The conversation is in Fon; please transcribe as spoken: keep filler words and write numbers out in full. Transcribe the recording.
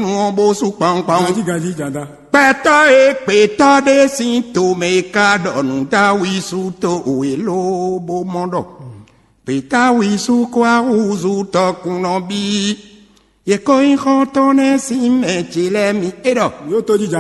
nu ɔ́ bó sú kpawunkpawun. Ganjí ganjí jada. Gbɛtɔ́ e gbětɔ́ ɖé sín tomɛ e ka ɖɔ nǔ dó awi sú to wě lóbó mɔ ɖɔ gbětɔ́ awi sú kó ahúzú tɔkun nɔ bí. Yě kó nyí xɔ́ntɔn nɛ́ sín mɛ ce lɛ́ɛ mi é ɖɔ. Yóò tó jí